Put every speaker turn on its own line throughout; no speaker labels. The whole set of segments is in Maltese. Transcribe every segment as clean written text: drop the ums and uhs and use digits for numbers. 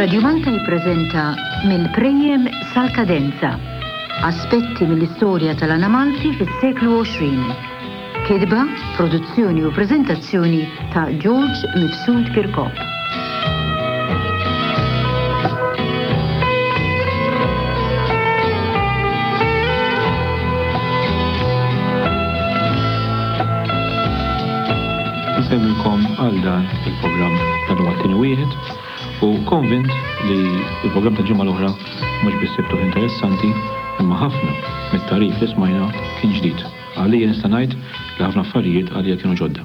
Radio Malta jippreżenta Mill-Prejjem sal-Kadenza, aspetti mill-istorja tal-għana Malti fis-seklu 20. Kitba, produzzjoni u preżentazzjoni ta' George Mifsud Kirkop.
Insellmilkom għal dan il-programm. Dan huwa t-tieni wieħed u konvint li l-programm tal-ġimgħa l-oħra mhux biss sibtuh interessanti imma ħafna mit-tagħrif li smajna kien ġdid. Għalija nista' ngħid li ħafna affarijiet għalija kienu ġodda.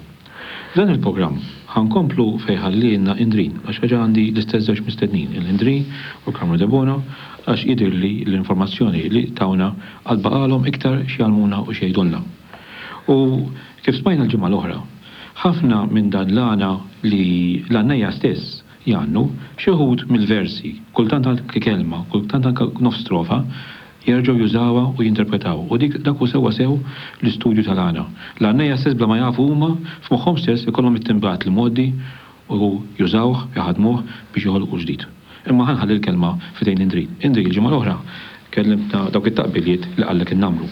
F'dan il-programm ħa nkomplu fejn ħallielna Indrin għax reġa' għandi l-istess żewġ mistednin, il-Indri u Carmelo Debono għax jidhirli li l-informazzjoni li tawna għad baqgħalhom iktar x'jgħallmuna u x'jgħidulna. U kif smajna l-ġimgħa l-oħra, ħafna minn dan l-għana li l-għannejja stess jgħannu, xi wħud mill-versi, kultant anke kelma, kultant anke nofs strofa, jerġgħu jużawha u jinterpretawha. U dik dak hu sewwasew l-istudju tal-għana. L-għannejja stess bla ma jafu huma, f'moħħhom stess ikollhom it-timbrat l-imgħoddi u jużawh, iħaddmuh biex joħolqu ġdid. Imma ħa nħalli l-kelma f'idejn Indri. Indri, il-ġimgħa l-oħra kellimtna dawk it-taqbiliet li qallek in-namru.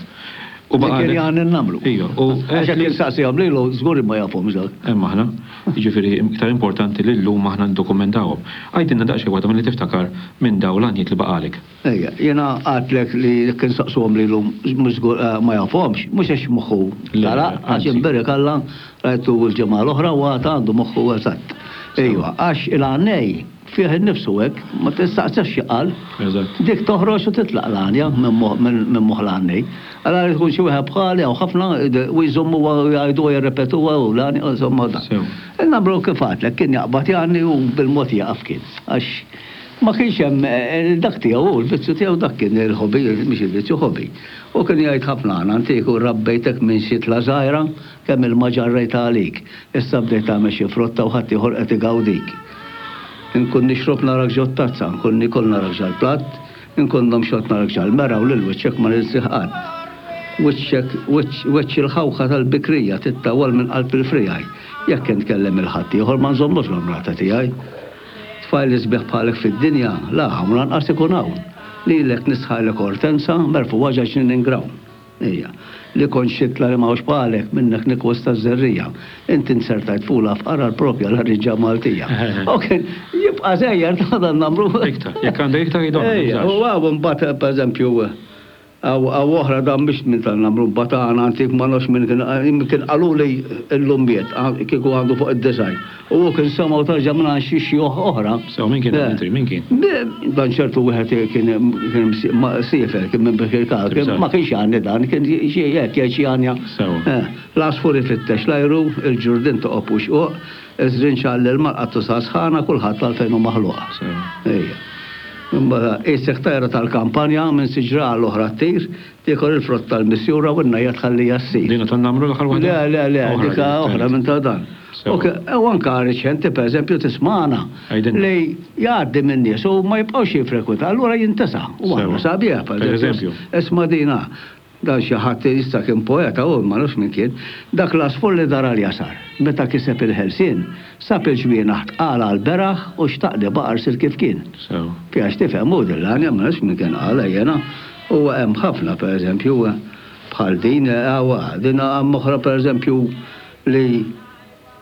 U
Li kien jagħni n-namru.
Ejja, u
Għax jekk insaqsihom lilu żgur li ma jafhomx dawk.
Hemm aħna. Jiġifieri iktar importanti li llum aħna niddokumentawhom. Għidilna daqsxejn waħda milli tiftakar minn dawn l-għanjiet li baqagħlek.
Ejja, jiena għadtlek li jekk insaqsuhom lilu mhux żgur ma jafhomx, mhux għax moħħu telaq, għax imbierek Alla rajtu l-ġimgħa l-oħra u għad għandu moħħu eżatt. Ejwa, għax il-għannej Fih innifsu hekk, ma tistaqsihx xi qal. Dik toħroġ u titlaq l-għanja minn moħħ l-għannej. Allura jrid ikun xi wieħed bħali hawn ħafna u jżommuha u jgħiduha jirrepetuha u l-għanja insomma dan. Il-Namru kif għadtlek kien jaqbad jgħanni u bil-mod jieqaf kien. Għax ma kienx hemm dak tiegħu hu, l-vizzju tiegħu dak kien il-hobby, mhux il-vizzju hobby. U kien jgħid ħafna għana antik u rabbejtek minn xitla żgħira kemm ilma ġarrejt għalik. Issa bdejt tagħmel xi frotta u ħaddieħor qed igawdik. Inkun nixrob narak ġot-tazza, inkun niekol narak ġal-platt, inkun nomxot narak ġal-mera u lil wiċċek ma ninsih qatt. Wiċċek, wiċċ, wiċċ il-ħawħa tal-bikrija tittawwal minn qalb il-friegħi. Jekk intkellem 'il ħaddieħor ma nżommux l-amrata tiegħi. Tfajl isbieħ bħalek fid-dinja, la hawn lanqas ikun hawn. Lilek nistħajlek ortenza, merfugħa ġa ġnien ingrawn. Ejja. Li kont xitla li m'hawnx bħalek, minnek nikkwista ż-żerriegħa. Inti nzertajt fula fqar għall-propja l-ħriġa Maltija. U kien jibqa' sejjer ta' dan nagħmlu.
Iktar, jekk għandek iktar jidhom.
Ejja, u hawn imbagħad pereżempju hawn oħra dan mhix minn tal-namru mbagħad għana antik ma nafx min kien kien qaluli llum miet kieku għandu fuq id-design. U hu kien semgħu tarġa' mingħand xi xjuħ oħra.
Sew, min kien dan Indri, min kien?
Dan ċertu wieħed kien kien siefer, kien minn Birkirkara, kien ma kienx jgħanni dan, kien xi hekk jgħid xi għanja.
Sew.
L-għasfur ifittex l-ajru, il-ġurdien toqob u xquq, iż-żrinġ għall-ilma, l-qattusa sħana, kulħadd għalfejn hu maħluq.
Sew.
Ejja. Imbagħad qisek tajra tal-kampanja minn siġra għal oħra ttir, Tiekol il-frott tal-misjura u n-najja tħalliha ssir.
Dina tan-namru l-aħħar
waħda? Le, le, le, dik oħra minn ta' dan. U anka reċenti, per eżempju, tismagħna li jgħaddi minn nies u ma jibqgħux jiffrekwenta, allura jintesa'. U aħna sabiħ, per eżempju. Isma' dina, dan xi ħadd issa kien poeta hu, ma nafx min kien, dak l-għasfur li dar għal-jasar, meta kiseb il-ħelsien, sab il-ġwienaħ tqal għall-beraħ u xtaq li baqa' rsir kif kien. Fiha x'tifhem hu din l-għanja, ma nafx min kien qalha jiena. U hemm ħafna, per eżempju, bħal din, hawn din hemm oħra per eżempju li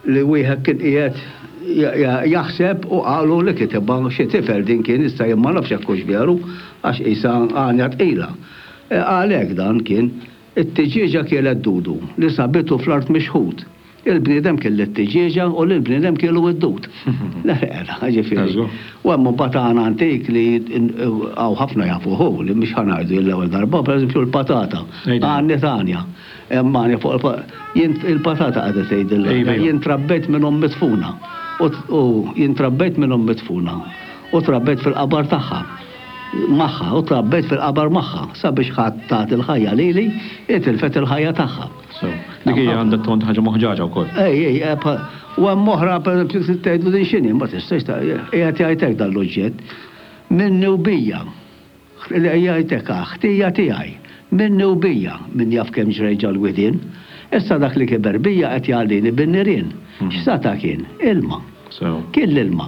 li wieħed kien qiegħed jaħseb u qalu li kitibha xi tifel din kien issa jien ma nafx jekk hux veru għax qisha għanja tqila. Qal hekk dan kien, It-tiġieġa kielet dudu li sabitu fl-art mixħut. Il-bniedem kiel lit-tiġieġa u lill-bniedem kielu d-dud. Ġifieri. U hemm imbagħad għana antik li hawn ħafna jafuh hu li mhux ħa ngħidu jien l-ewwel darba, pereżempju l-patata. Għanni tagħna. Hemm għanja fuq il-patata qagħda tgħidilha. Jien trabbejt minn omm midfuna. U jien trabbejt minn omm midfuna. U trabbejt fil-qabar tagħha. Magħha u trabbejt fil-qabar magħha sabiex ħadd tat il-ħajja lili, hi tilfet il-ħajja tagħha.
Sew. Dik hija għandha tont ħaġa moħġaġa wkoll.
Ej, ej, eh, u hemm oħra pereżempju trid tgħidlu din x'inhi, ma tistax ta' qiegħed jgħid hekk dan l-oġġett. Minni u bija. Jgħid hekk ah, ħtija tiegħi. Minni u bija, min jaf kemm ġrejt ġol-widien. Issa dak li kiber bija qed jgħallini bin-nirien. X'sata' kien? Ilma. Kien l-ilma.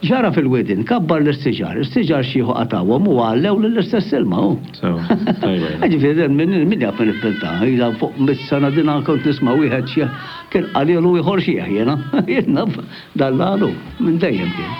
Ġara fil-widien, kabbar l-istiġar, istiġar xieħu qatgħuhom u għallew lill-istess ilma hu.
Sewa, tajba
jien. Jiġifieri dan min min jaf min ivvintaha, ilha fuq mitt sena din kont nisma' wieħed xiħ kien qalielu ieħor xiħ jiena. Jien naf dan l-għalu minn dejjem kien.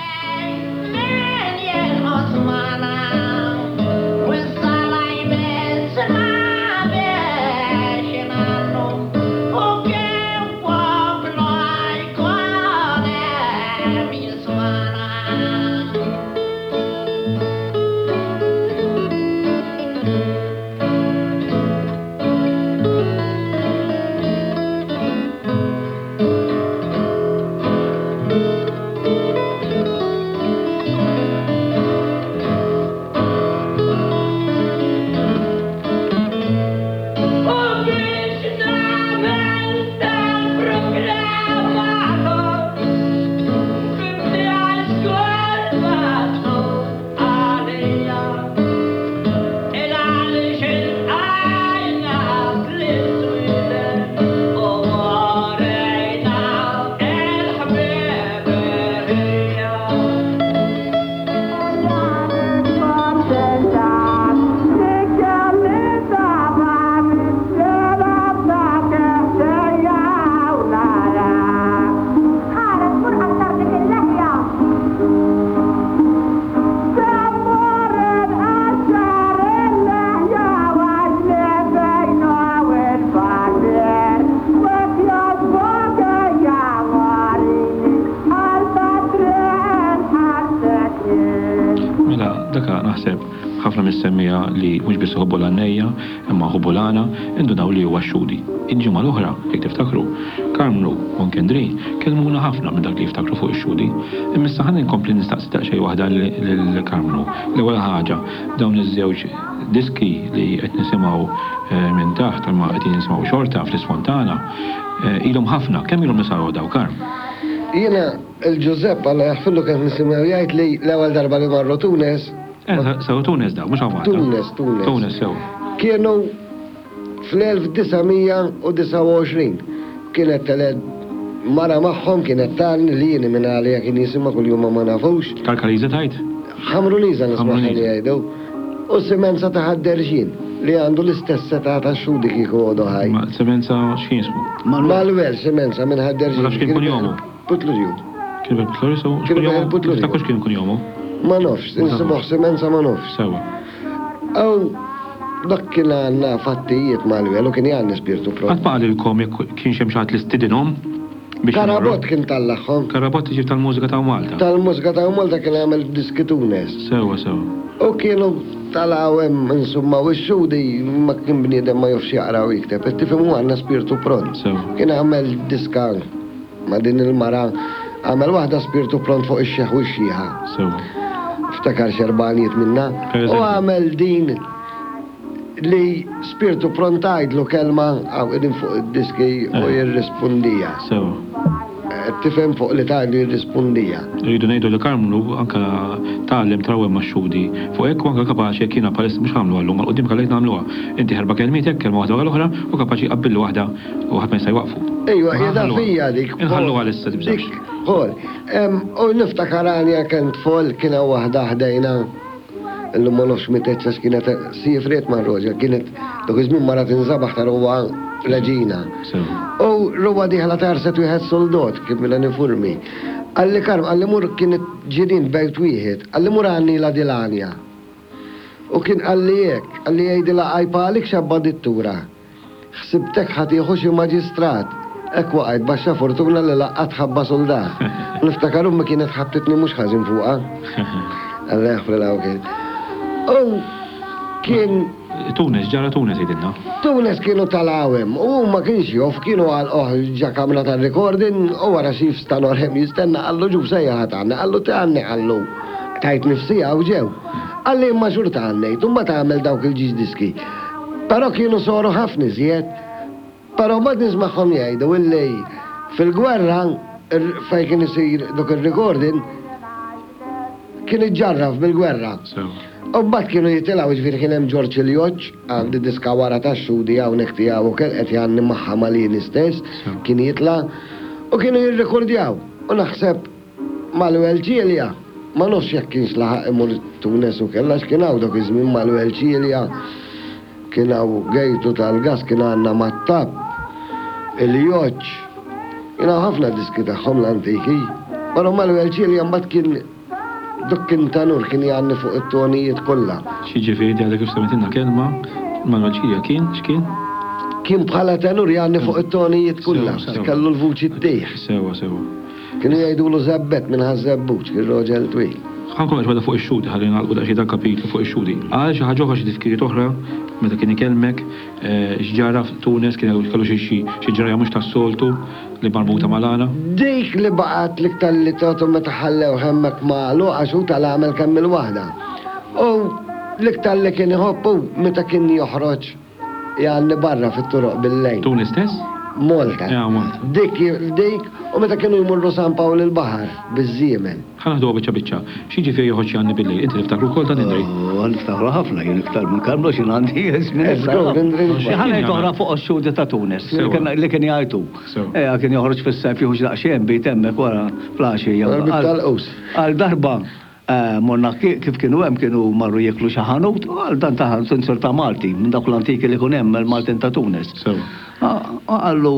Mela, daka naħseb ħafna mis-semmiegħa li mhux biss iħobbu l-għannejja, imma jħobbu l-għana, indunaw li huwa x-Xhudi. Il-ġimgħa l-oħra, jekk tiftakru, Karmnu u Nkendri kellmuna ħafna minn dak li jiftakru fuq ix-Xhudi. Imma issa ħa nkompli nistaqsi daqsxejn waħda lil Karmnu. L-ewwel ħaġa, dawn iż-żewġ diski li qed nisimgħu minn taħt, imma qegħdin nisimgħu xorta fl-isfond tagħna, ilhom ħafna. Kemm ilhom li saru dawn, Karm?
Jiena, il-Ġużepp, Alla jaħfirlu, kont nisimgħu jgħid li l-ewwel darba li marru Tunes.
Saru Tunes dawn, mhux hawn Malta.
Tunes, Tunes.
Tunes, sew.
Kienu fl-1929. Kienet telgħet mara magħhom, kienet tgħanni li jieni minn għalija kien jisimha kuljum ma ma nafux.
Karkariża tgħid?
Ħamruniża nismagħha li jgħidu. U Semenza ta' Ħad-Derxin, li għandu l-istess età ta' Xhudi kieku għodu ħaj.
Ma Semenza x'kien jismu?
Manuel Semenza minn Ħad-Derxin.
Ma nafx kien kunjomu.
Putlurju.
Kien bil Putlurju so? Kien bil Putlurju. Tiftakrux kien kunjomu?
Ma nafx, insibuh Semenza ma nafx.
Sewa.
Aw dak kien għandna fattijiet Manuel u kien jgħanni spirtu
pront. Qatt ma qalilkom jekk kienx hemm xi ħadd li stidinhom?
biex imorru. Karabott kien tallagħhom.
Karabott jiġifieri tal-mużika ta' Malta.
Tal-mużika ta' Malta kien għamel diski Tunes.
Sewwa sewwa.
U kienu talgħu hemm insomma u x-Xhudi ma kien bniedem ma jafx jaqra u jikteb. Qed tifhem hu għandna spirtu pront.
Sewwa.
Kien għamel diska ma' din il-mara għamel waħda spirtu pront fuq ix-xiħ u x-xiħa.
Sewwa.
Ftakar x'erbgħanijiet minnha.
Per
U għamel din Li spirtu pront tgħidlu kelma hawn qegħdin fuq id-diski u jirrispundija.
Sewa.
Qed tifhem fuq li tgħidlu jirrispundija.
Irridu ngħidu li Karmnu anke tgħallem trawwem max-xhudi fuq hekk u anke kapaċi jekk jiena bħalissa mhux ħa nagħmluha llum għal quddiem ħallejt nagħmluha. Inti erba' kelmiet hekk, kelma waħda wara l-oħra u kapaċi jqabbillu waħda u ħadd ma jista' jwaqqfu.
Ejwa, qiegħda fija dik.
Inħalluha għalissa tibżax.
Dik, Paul. U niftakar għanja kemm tfol kien hawn waħda ħdejna. Illum ma nafx mietet għax kienet siefret ma' Roger, kienet dak iż-żmien mara tinżabaħ ta' ruwa reġina. U ruwa dieħla tarset wieħed soldot kif mela nifurmi. Qalli Karm, qalli mur kienet ġirien bejt wieħed, qalli mur għannilha dil-għanja. U kien qalli hekk, qalli jgħidilha għajb għalik xabba dittura. Ħsibtek ħa tieħu xi maġistrat. Hekk waqajt baxxa fortuna li laqqat ħabba suldat. Niftakar ommi kienet ħabtitni mhux ħażin fuqha. Alla jaħfrilha u kien. U kien.
Tunes, ġara Tunes jgħidilna.
Tunes kienu tal-għawem u hu ma kienx jof, kienu għalquh ġa kamra tar-recording u wara xi f'stanor hemm jistenna qallu ġuf sejjaħ ħa tgħanni, qallu tgħanni qallu tajt nifsija u ġew. Qalli imma xorta għannejt u mbagħad għamel dawk il-ġiex diski. Però kienu soru ħafna iżjed. Però mbagħad nismagħhom jgħidu illi fil-gwerra fejn kien isir dak ir-recording kien iġġarraf bil-gwerra. U mbagħad kienu jitilgħu jiġifieri kien hemm Ġorġ il-Joġġ, għandi diska wara tax-Xhudi hawnhekk tiegħu ukoll qed jgħanni magħha mal-Ieni stess, kien jitla' u kienu jirrikordjaw. U naħseb. Manuel Cilia, ma nafx jekk kienx laħaq imur Tunes u kell għax kien hawn dak iż-żmien Manuel Cilia, kien hawn Gejtu tal-Gas, kien għandna Mattab, il-Joċ. Kien hawn ħafna diski tagħhom l-antiki. Però Manuel Cilia mbagħad kien Dak kien tenur kien jgħanni fuq it-tonijiet kollha.
X'jiġifieri inti għadek kif semmejtilna kelma, Manuel Cilia kien, x'kien?
Kien bħala tenur jgħanni fuq it-tonijiet kollha, kellu l-vuċi ttih.
Sewwa, sewwa.
Kienu jgħidulu Żebbett minn Ħaż-Żebbuġ, kien roġel twil.
Ħa nkomplu xi fuq ix-xhudi ħalli nagħlqu daqsxejn dal-kapitlu fuq ix-xhudi. Qal xi ħaġa oħra xi tifkiriet oħra meta kien ikellmek, x'ġara f'Tunes, kien kellu xi ġrajja mhux tas-soltu. Li marbuta mal-għana?
Dik li baqgħet l-iktar li tgħotu meta ħallewh hemmhekk magħluq għax hu tal-għamel kemm-il waħda. U l-iktar li kien iħobb hu meta kien joħroġ jgħanni barra fit-toroq bil-lejl.
Tunis stess?
Malta.
Ah, Malta.
Dik, dik, u meta kienu jmorru San Pawl il-Baħar biż-żiemel.
Ħa naħduha biċċa biċċa. X'jiġifieri joħroġ jgħanni bil-lejl? Inti tiftakru wkoll dan, Indri?
Oh, niftakru ħafna, jien iktar minn Karmnu x'jien għandi żmien iktar.
Żgur, Indri.
Ħa ngħid oħra fuq ix-xhudi ta' Tunis, li kien jgħajtu. Ejja, kien joħroġ fis-sajf jieħu xi daqsxejn bit hemmhekk wara fl-għaxija.
Tal-qus.
Għal darba morna kif kienu hemm kienu marru jieklu xi ħanut, u għal dan ta' ħanut insir ta' Malti, minn dawk l-antiki li jkun hemm il-Maltin ta' Tunis. Qallu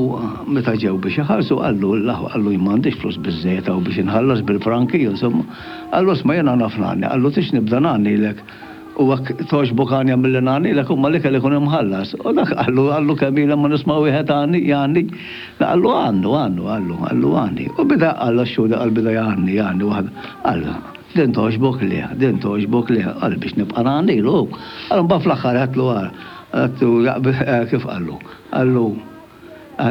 meta ġew biex iħallsu qallu l-aħwa qallu jien m'għandix flus biżżejjed hawn biex inħallas bil-franki insomma. Qallu isma' jiena naf ngħanni, qallu tridx nibda ngħannilek u hekk togħġbok għanja milli ngħannilek imma l-ikel ikun imħallas. U dak qallu qallu kemm ilha ma nisma' wieħed għanni jgħanni. Qallu għannu għannu qallu qallu għanni. U beda qal għax-xhud qal beda jgħanni jgħanni waħda. Qal din togħġbok le, din togħġbok le, qal biex nibqa' ngħannilu hu. Qal imbagħad fl-aħħar għedtlu ara. Għedtu jaqbel, kif qallu? Qallu,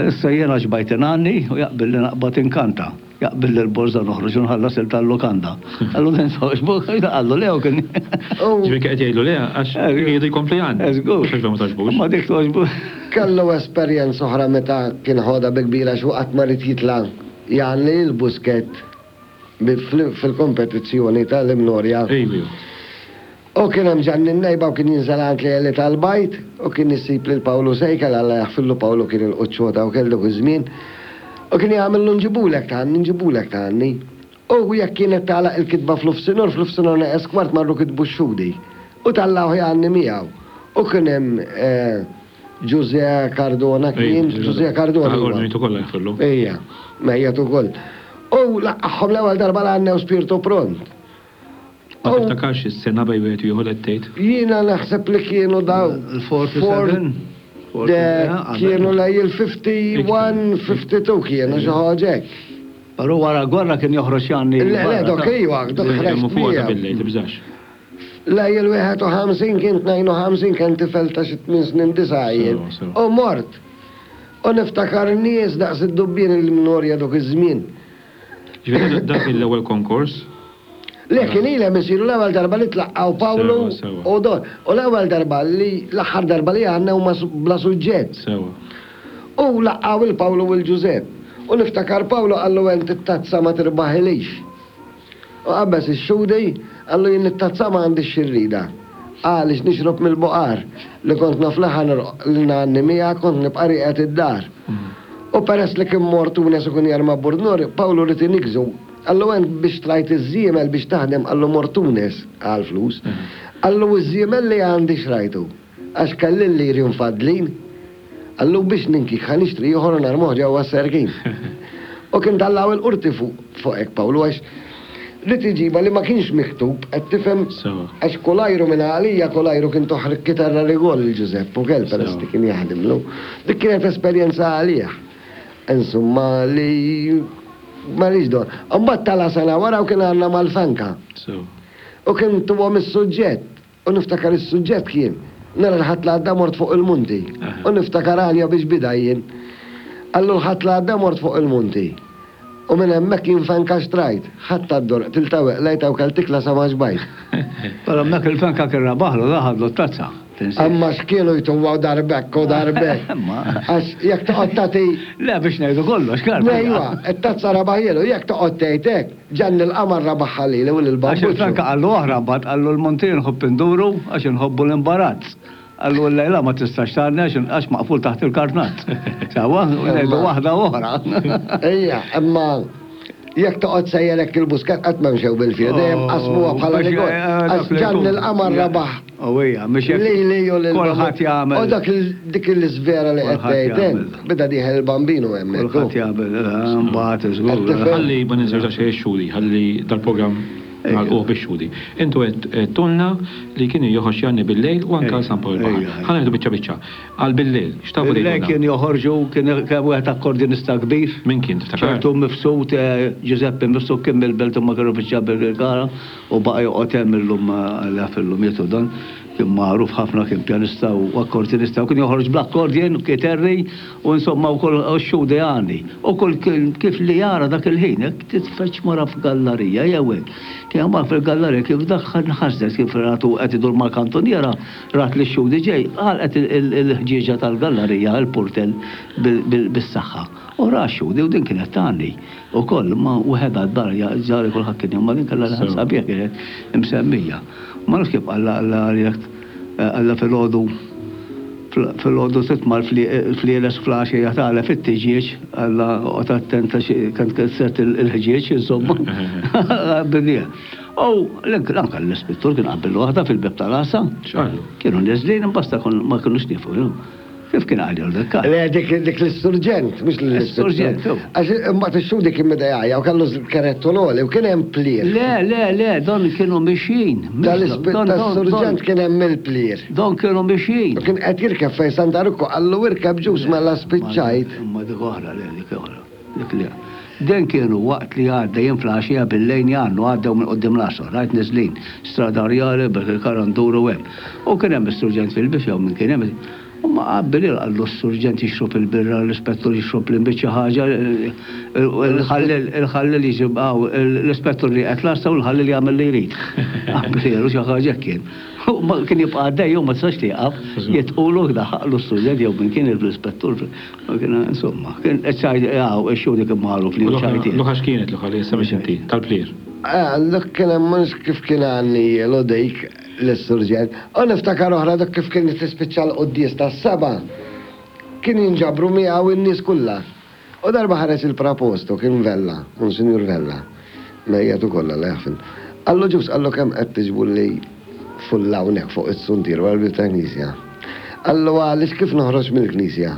issa jiena xbajt ingħanni u jaqbil li naqbad inkanta. Jaqbil li l-borża noħroġ u nħallas il tal-lukanda. Qallu din togħġbok? Qallu le u kien.
Ġifieri kien qed jgħidlu le għax kien jridu jkompli jgħanni.
Żgur.
Mhux għax ma togħġbux.
Ma dik togħġbu.
Kellu esperjenza oħra meta kien ħodha bi kbira għax hu qatt ma ried jitla' jgħanni l-Busquet fil-kompetizzjoni tal-Imnorja. U kien hemm Ġanni n-Nejba u kien jinżel għand Leli tal-Bajd u kien isib lil Pawlu Sejkel, Alla jaħfirlu Pawlu kien il-quċċota wkoll dak iż-żmien, u kien jagħmillu nġibulek tgħanni, nġibulek tgħanni. U jekk kienet tagħlaq il-kitba fl-ufsinhor, fl-ufsinhor neqes kwart marru kitbu x-xhudi. U tellgħuh jgħanni miegħu. U kien hemm Ġużè Cardona kien, Ġużè Cardona.
Ordnitu kollha jaħfirlu.
Ejja, mejjet ukoll. U laqqagħhom l-ewwel darba l-għannew Spirtu Pront.
Ma tiftakarx is-sena bejn wieħed u ieħor qed tgħid?
Jiena naħseb li kienu dawn.
Il-47?
Kienu lejn il-51, 52 kienu xi ħaġa hekk.
Però wara l-gwerra kien joħroġ jgħanni.
Le, le, dok iva, dok ħreġt
miegħu. Bil-lejl, tibżax.
Lejn il-51 kien 52 kien tifel ta' xi tmien snin disa' jien. U mort. U niftakar nies daqs id-dubbien il-Mnorja dok iż-żmien.
Ġifieri dak l-ewwel konkors?
Le, kien ilhom isiru l-ewwel darba li tlaqqgħu Pawlu u Don. U l-ewwel darba li, l-aħħar darba li għannew ma bla suġġett.
Sewwa.
U laqqgħu 'l Pawlu u 'l Ġużepp. U niftakar Pawlu qallu ent it-tazza ma tirbaħilix. U qabeż ix-xhudi, qallu jien it-tazza ma għandix xi rridha. Għaliex nixrob mill-buqar li kont naf li ħa li ngħanni miegħek kont nibqa' rieqed id-dar. U peress li kien mor Tunes u kien jarma Burnor, Pawlu ried iniggżu. Qallu ent biex tlajt iż-żiemel biex taħdem qallu mort Tunes għall-flus. Qallu iż-żiemel li għandi xrajtu għax kelli l-liri mfaddlin. Qallu biex ninkik ħa nixtri ieħor u narmuh ġewwa s-serkin. U kien tallgħu il-qorti fuq fuq hekk Pawlu għax ried iġibha li ma kienx miktub qed tifhem għax kulajru minn għalija kulajru kien toħ kitarra rigol lil Ġużepp ukoll peress li kien jaħdimlu. Dik kienet esperjenza għalih. Insomma li ma rridx don. Imbagħad tala' sena wara u kien għandna mal-Fanka. U kien tuhom is-suġġett. U niftakar is-suġġett kien, Nhar il-Ħadd li għadda mort fuq il-munti. U niftakar għanja biex bida jien. Qallu l-Ħadd li għadda mort fuq il-munti. U minn hemmhekk jien fenka xtrajt. Ħadt għad-dur, qtiltha u qlejtha u kellt ikla sa ma xbajt.
Però hemmhekk il-fenka kien rabaħlu, da ħadlu t-tazza.
Imma x'kienu jtuwa darbek u darbek. Għax jekk toqgħod tagħti.
Le biex ngħidu kollox, Karm.
Ejwa, it-tazza rabaħielu, jekk toqgħod tgħid hekk, Ġanni l-Qamar rabaħha lili u lil
Għax il-Franka qallu oħra mbagħad qallu l-Monti nħobb induru għax inħobbu l-imbarazz. Qallu llejla ma tistax tgħanni għax għax maqful taħt il-kartnazz. Sewwa, ngħidu waħda oħra.
Ejja, imma. Jekk toqgħod sejjer hekk il-Buscat qatt ma mxew bil-fil, dejjem qasmuha bħala rigor. Għax Ġanni l-Qamar rebaħ. Lili u lil.
Kulħadd jagħmel.
U dak dik l-iżvera li qed tgħid int, beda dieħel il-Bambinu hemmhekk.
Kulħadd jagħmel, imbagħad żgur.
Ħalli ma ninżewx daqsxejn ix-xhudi, ħalli dal-programm nagħlquh bix-xhudi. Intu għedtulna li kien joħroġ jgħanni bil-lejl u anke għal San Pawl il-Baħar. Ħa nieħdu biċċa biċċa. Għal bil-lejl, x'tafu
tgħidulna? Bil-lejl kien joħorġu, kien hemm wieħed akkordjonista kbir.
Min kien, tiftakar?
Ċertu Mifsud, Ġużeppi Mifsud kien mill-Belt imma kienu fiċ-Ċabbirkirkara u baqa' joqgħod hemm illum Alla jaf illum miet u dan. Kien magħruf ħafna, kien pjanista u akkordjonista u kien joħroġ bl-accordion u kiterri u insomma wkoll u x-xhudi għani. U kull kif li jara dak il-ħin, hekk titfeġġ mara f'gallarija jew hekk. Kien mar fil-gallarija kif daħħal nħasdet kif ratu qed idur mal-kantuniera, Rat li x-xhudi ġej, għalqet il-ħġieġa tal-gallarija, il-purtell, bis-saħħa. U ra x-xhudi u din kienet tgħanni wkoll, imma waħedha d-dar, ġari kulħadd kien imma din kellha leħen sabiħ kienet imsemmija. Ma nafx kif qallha, qallha jekk qallha filgħodu filgħodu titma' l-flieles fl-għaxija tagħlef it-tiġieġ, qallha oqgħod attent għax kont kissert il-ħġieġ, insomma. Bidieha. U anke l-ispettur kien qabel waħda fil-bieb tal-għassa.
X'qallu?
Kienu neżlin imbasta ma kinux niefu. Kif kien qallu dak?
Le dik dik l-isturġent, mhux
l-ispettur. L-isturġent.
Għax imbagħad ix-xhudi kien beda jgħajja u kellu kerettu l-għoli u kien hemm plier.
Le, le, le, don kienu mixjin.
Tal-isturġent kien hemm il-plier.
Don kienu mixjin.
U kien qed jirkeb fejn Santa Rukku qallu irkeb ġus mela spiċċajt.
Imma dik oħra, le, dik oħra. Dik li Den kienu waqt li għaddejjin fl-għaxija bil-lejn jgħannu għaddew minn quddiem l-għasar, rajt neżlin, Strada Rjali, Birkirkara nduru hemm. U kien hemm is-surġent fil-bieb jew min kien hemm, u ma qabbilil qallu s-surġent jixrob il-birra, l-ispettur jixrob l-inbid xi ħaġa, il-ħalliel il-ħalliel jiġi hawn, l-ispettur rieqed l-għassa u l-ħalliel jagħmel li jrid. Qabbilielu xi ħaġa hekk kien. U ma kien jibqa' għaddej u ma tistax tieqaf, jitqulu daħaqlu s-surġent jew min kien l-ispettur. Insomma, kien ċajt, għaw, xhudi kien magħruf li ċajti.
Luħa x'kienet luħa li issa biex inti, tal-plir?
Eh, dak kien hemm mhux kif kien għanni jielu dik l-isturġent. U niftakar oħra dak kif kien tispiċċa l-quddies tas-seba'. Kien jinġabru miegħu n-nies kollha. U darba ħareġ il-prapostu kien Vella, Monsinjur Vella. Mejjet ukoll Alla jaħfirlu. Qallu Ġust, qallu kemm qed tiġbulli fulla hawnhekk fuq is-suntier wara l-bieb tal-knisja. Qallu għaliex kif noħroġ mill-knisja?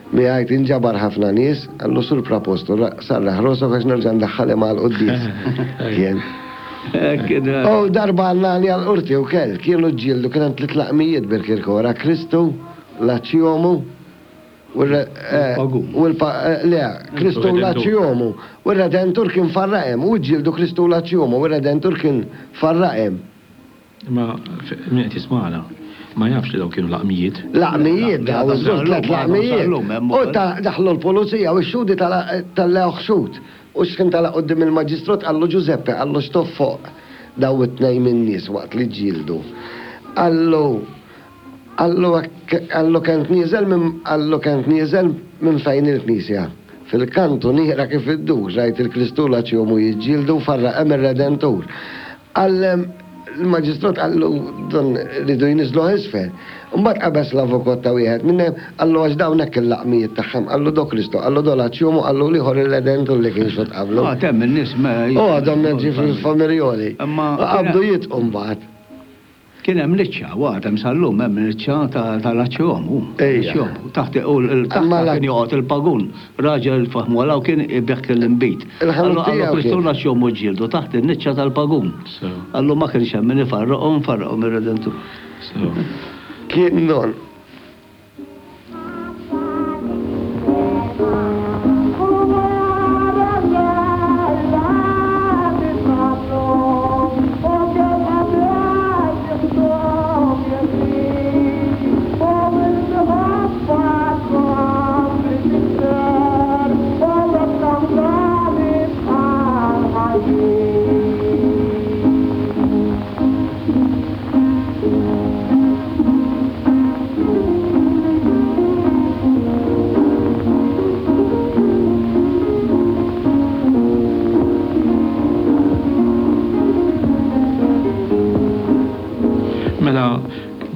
Miegħi tinġabar ħafna nies, qallu Sur Prapostu, sarraħ rosok għax nerġa' ndaħħal imma għall-quddies. Kien. U darba għannani għall-qorti wkoll, kienu ġġieldu kien hemm tliet laqmijiet bil-Kirkora, Kristu, l-Aċċjomu, Le, Kristu l-Aċjomu. U r-Redentur kien farraqem. U ġġieldu Kristu l-Aċjomu. U r-Redentur kien farraqem.
Imma min qed jismagħna ma jafx li dawn kienu laqmijiet.
Laqmijiet dawn, żgur tliet laqmijiet. U daħlu l-pulizija u x-xhudi tellgħuh xhud. U x'ħin tela' quddiem il-maġistrot qallu Ġużeppe, qallu x'tof fuq dawn it-tnejn min-nies waqt li ġġieldu. Qallu Qallu hekk, qallu kent nieżel minn, qallu kent nieżel minn fejn il-knisja. Fil-kantuniera kif iddur, rajt il-Kristu l-Aċjomu jiġġieldu u farraqem ir-Redentur. Qal, il-maġistrat qallu dan riedu jniżżluh isfel. Imbagħad qabeż l-avukot ta' wieħed minnhom, qallu għax dawn hekk il-laqmijiet tagħhom, qallu do Kristu, qallu do l-Aċjomu, qallu l-ieħor ir-Redentur li kien xhud qablu.
Għad hemm in-nies ma.
U għadhom ġifieri l-familjoli.
Imma.
Qabdu jidqu mbagħad.
Kien hemm niċċa, u għad hemm sal-lum hemm niċċa tal-Aċċjomu.
Ejja.
Taħt u taħt kien joqgħod il-pagun, raġel faħmu għal hawn kien ibigħ l-inbid.
Il-ħanut tiegħu.
Qallu Kristu l-Aċċjomu ġġieldu taħt in-niċċa tal-pagun. Qallu ma kienx hemm min ifarraqhom, farraqhom ir-Redentur.
Kien don.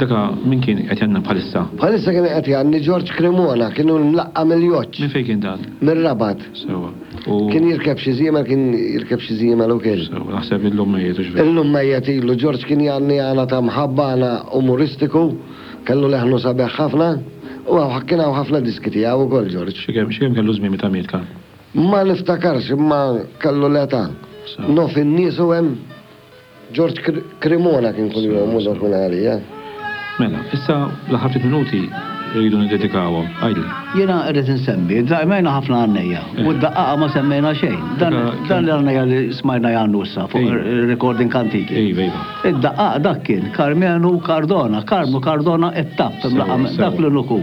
Daka min kien qed jgħanni bħalissa?
Bħalissa kien qed jgħanni George Cremona, kien hu mlaqqa' mill-Joċ.
Minn fejn kien dan?
Mir-Rabat.
Sewwa.
U. Kien jirkeb xi żiemel, kien jirkeb xi żiemel ukoll.
Sewwa, naħseb illum mejjet hux
veru? Illum mejjet ilu. George kien jgħanni għana ta' mħabba, għana umoristiku, kellu leħnu sabiħ ħafna, u kien hawn ħafna diski tiegħu ukoll George.
Xi kemm, xi kemm kellu żmien meta miet Karm?
Ma niftakarx imma kellu l-età.
Sewwa.
Nof in-nies u hemm. George Cremona kien kunjomu dak minn għalija.
Mela, issa l-aħħar ftit minuti rridu niddedikawhom. Għidli.
Jiena rrid insemmi, semmejna ħafna għannejja u d-daqqaqa ma semmejna xejn. Dan l-għannejja li smajna jgħannu issa fuq recording antiki.
Iva, iva.
Id-daqqaq dak kien Karmenu Cardona, Karmnu Cardona it-tapp, dak l-uniku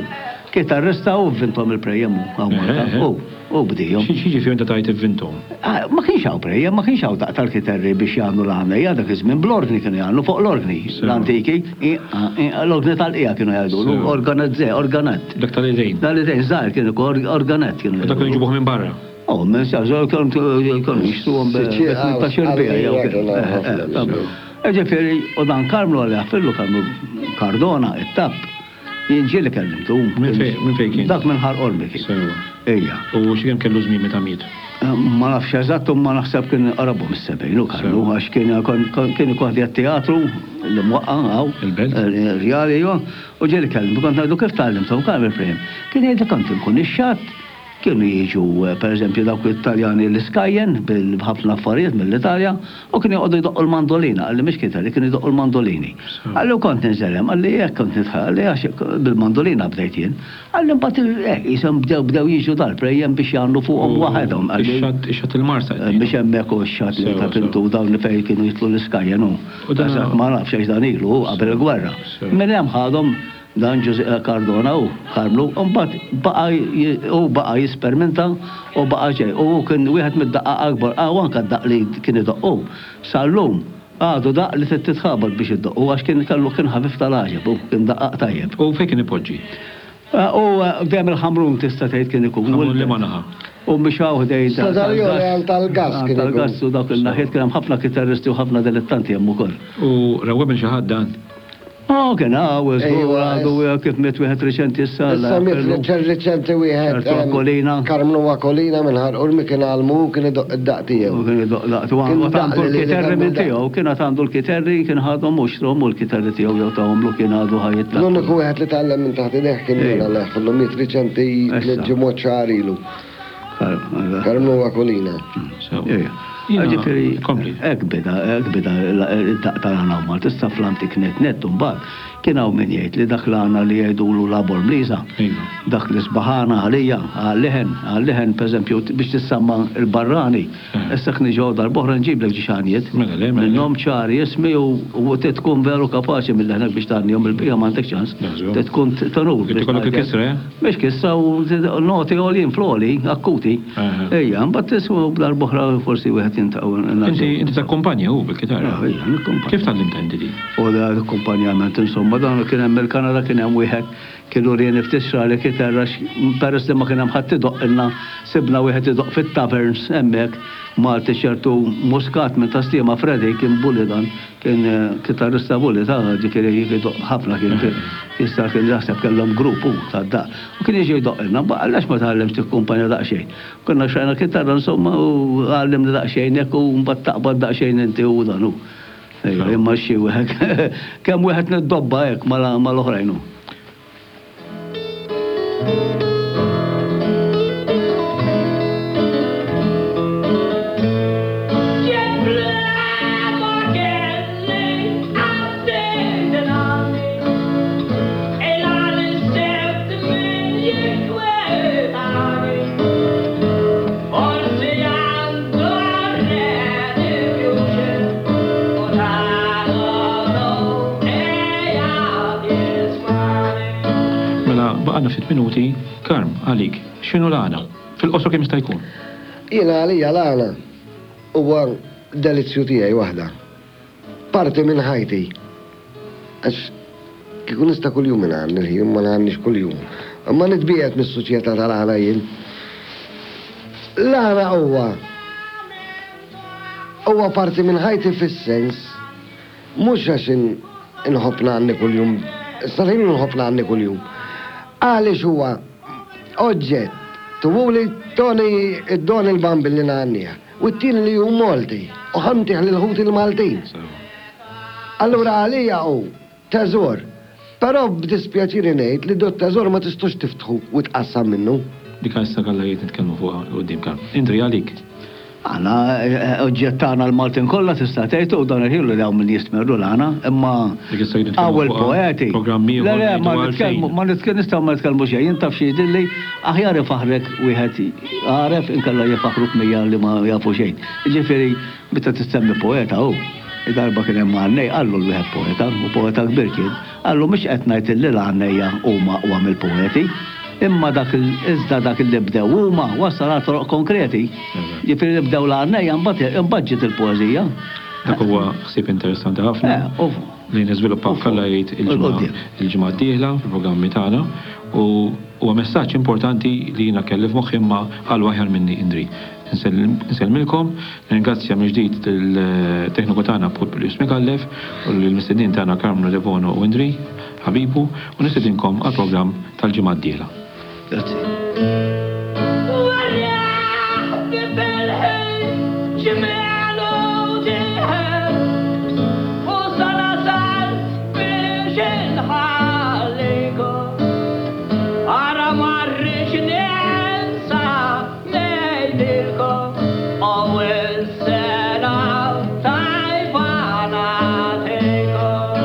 kitarrista u vvinthom il-prejjem hu hawn Malta. Hu. U bdihom.
X'jiġifieri meta tgħid ivvinthom?
Ma kienx hawn prejjem, ma kienx hawn daqq tal-kiterri biex jgħannu l-għannejja dak iż-żmien, bl-orgni kienu jgħannu, fuq l-orgni, l-antiki, l-orgni tal-qiegħa kienu jgħidulu, organett, organett.
Dak tal-idejn.
Tal-idejn, żgħir kien ikun, organett kienu
jgħidulu. Dak kienu jġibuh minn barra?
Oh, minn sa, kienu jixtruhom bi 18 biegħa jew Ġifieri, u dan Karmnu għal jaħfirlu Karmnu Cardona, it-tapp. Jien ġieli kellimtu.
Minn fejn kien?
Dak minn Ħal Qormi kien.
Sewwa.
Ejja.
U xi kemm kellu żmien meta miet?
Ma nafx eżatt imma naħseb kien qrabhom is-70 hu kellu għax kien kien ikun ħdejja t-teatru li mwaqqa' hawn.
Il-Belt?
Rjali ejwa. U ġieli kellimtu kont ngħidlu kif tgħallimthom Karmel Frame. Kien jgħidli kont inkun ix-xatt Kienu jiġu, per eżempju, dawk it-Taljani l-iskajjen b'ħafna affarijiet mill-Italja u kienu joqogħdu jdoqqu l-mandolina, qalli mhix kitarri, kienu jdoqqu l-mandolini. Qalli u kont ninżel hemm, qalli hekk kont nidħol, qalli għax bil-mandolina bdejt jien. Qalli mbagħad hekk qishom bdew bdew jiġu dal-prejjem biex jgħannu fuqhom waħedhom,
qalli. Ix-xatt, ix-xatt il-Marsa qed
ngħidu. Mhix hemmhekk hu x-xatt li ta' Pintu dawn li fejn kienu jidħlu l-iskajjen hu. Eżatt ma nafx għax dan ilu hu qabel il-gwerra. Minn hemm ħadhom Dan Ġużè Cardona hu, Karmnu, u mbagħad baqa' hu baqa' jispermenta u baqa' ġej. U hu kien wieħed mid-daqqaqa akbar, ah u anke d-daqq li kien idoqq hu, sal-lum għadu daqq li trid titħabat biex iddoqqu għax kien kellu kien ħafif tal-għaġeb hu, kien daqqaq tajjeb.
U fejn kien ipoġġi?
U dejjem il-Ħamrun tista' tgħid kien ikun.
Ħamrun liema naħa?
U mhix hawn ħdejn
tal-gas. Għand tal-gas
kien ikun. Tal-gas u dawk in-naħiet kien hemm ħafna kitarristi u ħafna dilettanti hemm ukoll.
U rawwem lil xi ħadd dan?
Oh, kien hawn, żgur għadu kif miet wieħed riċenti
issa. Issa miet riċenti wieħed.
Ċertu Aquilina.
Karmnu Aquilina minn Ħal Qormi kien għallmu u kien idoqq id-daqq
tiegħu. Kien idoqq daqq tiegħu. Kien għandu l-kiterri minn tiegħu, kien għad għandu l-kiterri, kien ħadhom u xtrahom u l-kiterri tiegħu jew tahomlu kien għadu ħaj
it-tlatt. L-uniku wieħed li tgħallem minn taħt idejh kien jien Alla jaħfirlu miet riċenti tliet ġimgħat xahar ilu. Karmnu Aquilina.
Ġifieri, hekk beda, hekk beda d-daqq tal-għana u Malta. Issa fl-antik nett nett imbagħad kien hawn min jgħid li dak l-għana li jgħidulu la Bormliża, dak li sbaħ għana għalija, għal-leħen, għal-leħen pereżempju biex tissamma l-barrani. Issa jekk niġi hawn darb'oħra nġiblek ġiex għanjiet. Minnhom ċari ismi u trid tkun veru kapaċi minn leħnek biex tgħannihom il-bqija m'għandekx ċans. Trid tkun tenur.
Trid ikollok il-kisra, eh?
Mhix kisra u noti għoljin fl-għoli, akkuti. Ejja, mbagħad tisma' darb'oħra forsi wieħed jintaqgħu.
Inti inti takkumpanja hu bil-kitarra.
Ejja, nikkumpanja.
Kif tgħallimt inti din?
U l-akkumpanjament insomma dan kien hemm il-Kanada kien hemm wieħed kien urieni ftit xrali kitarra peress li ma kien hemm ħadd idoqqilna sibna wieħed idoqq fit-taverns hemmhekk Malti ċertu Muscat minn Tas-Sliema Freddie kien bully dan Kien kitarrista bulli ta' ġifieri jdoqq ħafna kien jista' kien jaħseb kellhom grupp hu tad-daqq. U kien jiġi jdoqqilna, mbagħad għaliex ma tgħallimx tikkumpanja daqsxejn. Konna xtrajna kitarra insomma u għallimni daqsxejn hekk u mbagħad taqbad daqsxejn inti u dan hu. Ejja, imma xi wieħed kemm wieħed niddobba hekk mal-oħrajn hu.
Mela, baqgħalna ftit minuti. Karm, għalik, x'inhu l-għana? Fil-qosor kemm jista' jkun.
Jiena għalija l-għana huwa delizzju tiegħi waħda. Parti minn ħajti. Għax kieku nista' kuljum ingħanni l-ħin, ma ngħannix kuljum. Imma nitbiegħed mis-soċjetà tal-għana jien. L-għana huwa huwa parti minn ħajti fis-sens mhux għax inħobb ngħanni kuljum. Sal-ħin nħobb ngħanni kuljum. Għaliex huwa oġġett tuhuli toni d-don il-Bambin li ngħannih u t-tieni li hu Malti u ħa ntih lil ħuti l-Maltin. Allura għalija hu teżor. Però b'dispjaċiri ngħid li dot-teżor ma tistgħux tiftħu u tqassam minnu.
Dik issa għalla jgħid nitkellmu fuqha 'l quddiem Karm. Indri għalik.
Aħna oġġett tagħna l-Maltin kollha tista' tgħid u dan il-ħin li hawn min jistmerru l-għana, imma hawn il-poeti. Le le ma nitkellmu ma nistgħu ma nitkellmu xejn, jien taf xi jidhirli aħjar ifaħħrek wieħed għaref inkella jfaħħruk 100 li ma jafu xejn. Jiġifieri meta tissemmi poeta hu, darba kien hemm għannej qallu l-wieħed poeta, u poeta kbir kien, Qallu mhux qed ngħid illi l-għannejja huma aqwa mill-poeti, imma dak iżda dak li bdew huma wassal għal toroq konkreti. Jiġifieri li bdew l-għannejja imbagħad imbagħad ġiet il-poeżija.
Dak huwa ħsieb interessanti ħafna li niżviluppaw f'Alla jgħid il-ġimgħa d-dieħla fil-programmi tagħna u huwa messaġġ importanti li jiena kelli f'moħħi imma qalu aħjar minni Indri. Insellmilkom, nirringrazzja mill-ġdid lill-tekniku tagħna Publius Micallef u lill-mistednin tagħna Karmnu Debono u Indri ħabibu u nistedinkom għall-programm tal-ġimgħa d-dieħla.
Grazzi.
Ngħidilkom ewwel sena tajba nagħtikom.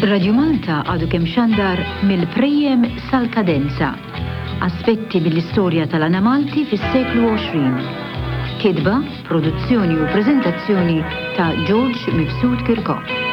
Radio Malta għadu kemm xandar mill-Prejjem sal-Kadenza. Aspetti mill-istorja tal-għana Malti fis-seklu 20. Kitba, produzzjoni u preżentazzjoni ta' George Mifsud Kirkop.